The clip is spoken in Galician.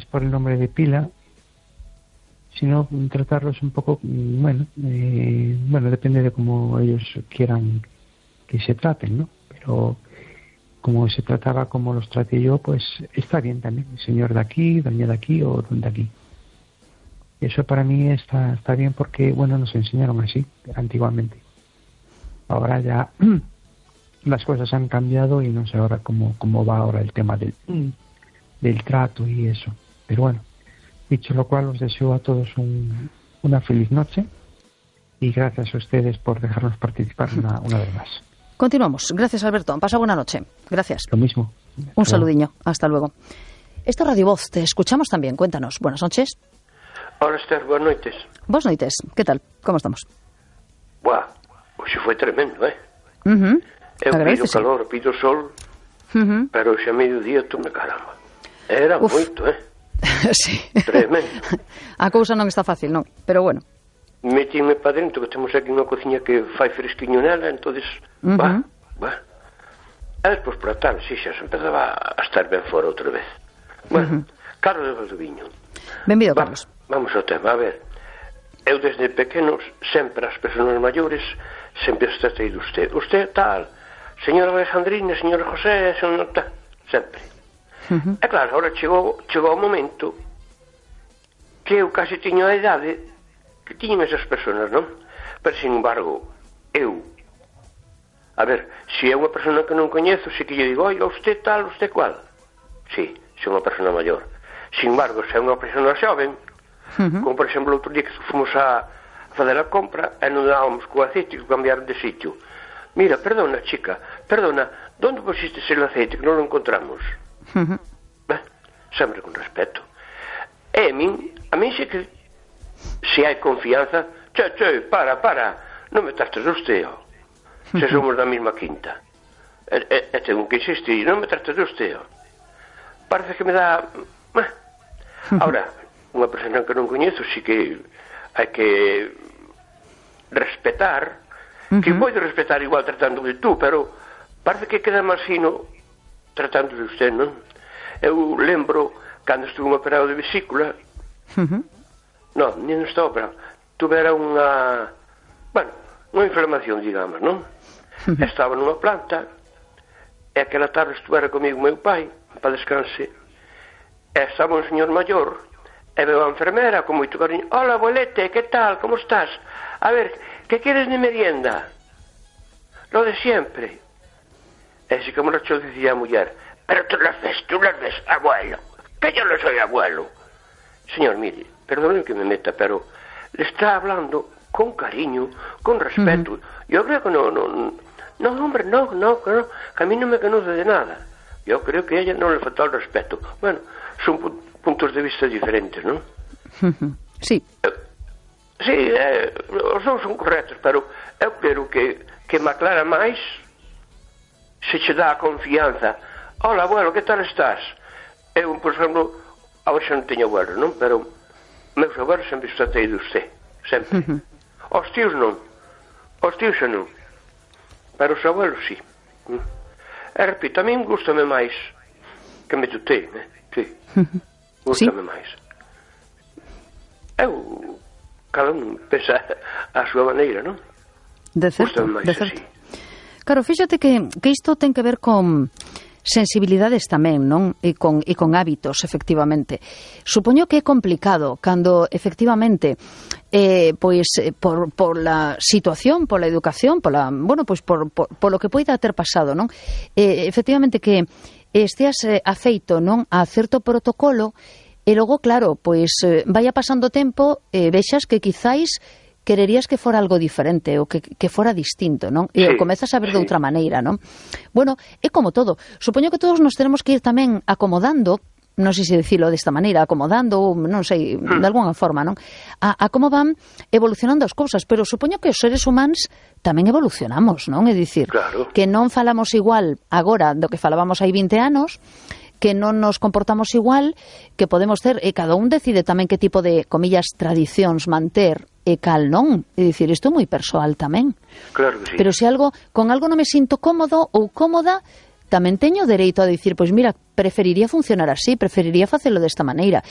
es por el nombre de pila, sino tratarlos un poco, bueno, depende de cómo ellos quieran que se traten, ¿no? Pero como se trataba como los traté yo, pues está bien también, señor de aquí, doña de aquí o don de aquí. Eso para mí está bien porque, bueno, nos enseñaron así antiguamente. Ahora ya las cosas han cambiado y no sé ahora cómo va ahora el tema del trato y eso. Pero bueno, dicho lo cual, os deseo a todos una feliz noche y gracias a ustedes por dejarnos participar una vez más. Continuamos. Gracias, Alberto. Pasa buena noche. Gracias. Lo mismo. Un saludiño. Hasta luego. Esto es Radio Voz. Te escuchamos también. Cuéntanos. Buenas noches. Hola, Esther. Buenas noites. Buenas noites. ¿Qué tal? ¿Cómo estamos? Buah, hoxe foi tremendo, Eu pido calor, pido sol, pero hoxe a mediodía tú me caramba. Era moito, Sí. Tremendo. A cousa non está fácil, non? Pero bueno. Metíme para dentro, que temos aquí unha cociña que fai fresquiño nela, entonces, va. E despois por a tarde, xa se empezaba a estar ben fora outra vez. Bueno, Carlos de Valdoviño. Benvido, Carlos. Vamos ao tema, a ver. Eu desde pequenos, sempre as persoas maiores, sempre os tratei de usted. Usted tal, señora Alejandrina, señora José, señora tal, sempre. E claro, agora chegou o momento que eu casi tiño a idade que tiñen esas persoas, non? Pero, sin embargo, eu, a ver, se é unha persona que non coñezo, se que lle digo, oiga, usted tal, usted cual. Sí, se é unha persona maior. Sin embargo, se é unha persona xoven, como por exemplo outro día que fomos a fazer a compra e non dábamos co aceite que cambiaron de sitio. Mira, perdona chica, perdona, onde pusiste el aceite que non lo encontramos? Sempre con respeto. E a min se que se hai confianza, che, para, non me trates de usted, se somos da mesma quinta. E tengo que insistir, non me trates de usted. Parece que me dá... Ahora, unha persona que non coñezo, si que hai que respetar, que pode respetar igual tratando de tú, pero parece que queda máis fino tratando de usted, non? Eu lembro cando estuve operado de vesícula, non estaba operado, tuvera unha inflamación, digamos, non? Estaba nunha planta, e aquela tarde estuvera comigo meu pai, para descanse, e estaba un señor maior, e veo a enfermera con moito cariño. Hola, abuelete, que tal, como estás? A ver, que queres de merienda? Lo de siempre. E así como lo decía a muller, pero tú las ves, abuelo, que yo no soy abuelo. Señor, mire, perdone que me meta, pero le está hablando con cariño, con respeto. Yo creo que no, hombre, no, que a mí no me conoce de nada. Yo creo que a ella no le faltó el respeto. Bueno, son puntos de vista diferentes, ¿no? Sí. Sí, os dous son correctos, pero eu quero que me aclara máis se che dá a confianza. Hola, abuelo, que tal estás? Eu, por exemplo, agora xa non teño abuelo, non? Pero meus abuelos sempre tratei de usted, sempre. Os tíos non, os tíos xa non, pero os abuelos sí. E repito, a mí gustame máis que me tutei, sí. Gústame máis. Eu, cada un pensa a súa maneira, non? De certo, máis de certo. Así. Claro, fíxate que isto ten que ver con sensibilidades tamén, non? E con hábitos, efectivamente. Supoño que é complicado cando, efectivamente, por la situación, por la educación, por lo que poida ter pasado, non? Efectivamente que esteas afeito, non, a certo protocolo e logo, claro, pois vaya pasando o tempo e vexas que quizáis quererías que fora algo diferente ou que fora distinto, non? E comezas a ver de outra maneira, non? Bueno, é como todo. Supoño que todos nos tenemos que ir tamén acomodando, non sei se dicilo desta maneira, acomodando, non sei, de alguna forma, non? A como van evolucionando as cousas, pero supoño que os seres humanos tamén evolucionamos, non? É dicir, que non falamos igual agora do que falábamos hai 20 anos, que non nos comportamos igual, que podemos ter, e cada un decide tamén que tipo de, comillas, tradicións manter e cal non. É dicir, isto é moi persoal tamén. Claro que sí. Pero se con algo non me sinto cómodo ou cómoda, tamén teño dereito a dicir, pois mira, preferiría funcionar así, preferiría facelo desta maneira.